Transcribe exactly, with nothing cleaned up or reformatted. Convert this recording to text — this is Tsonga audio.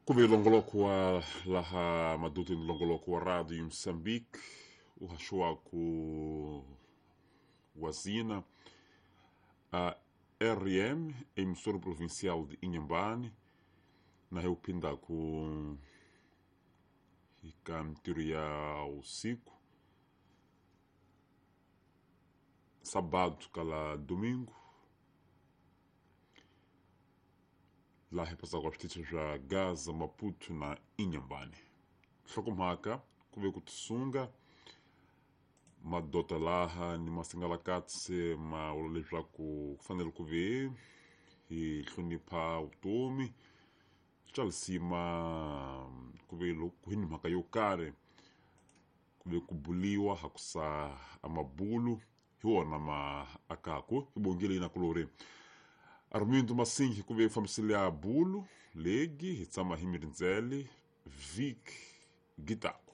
Kuve longoloko wa laha madutini longoloko wa Radio Moçambique, uhaxuaku wazina a R M, emissora provincial de Inhambane, na reupinda ku ikamtiro ya usiku sábado kala domingo lá repassar com as notícias já Gaza, Maputo na Inhambane. Hlokomhaka kuve ku tisunga madota laha ni masingalakatse ma vula leswaku ku fanele ku ve hi hlonipha vutomi swa lisima ku ve loko hi ni mhaka yo karhi ku ve ku buliwa hakusa amabulu hi wona ma akaku hi bongile na kulori Armindo Massingi ku ve fambisile a bulu legi hi tshama hi mirindzele Vic Gitaku.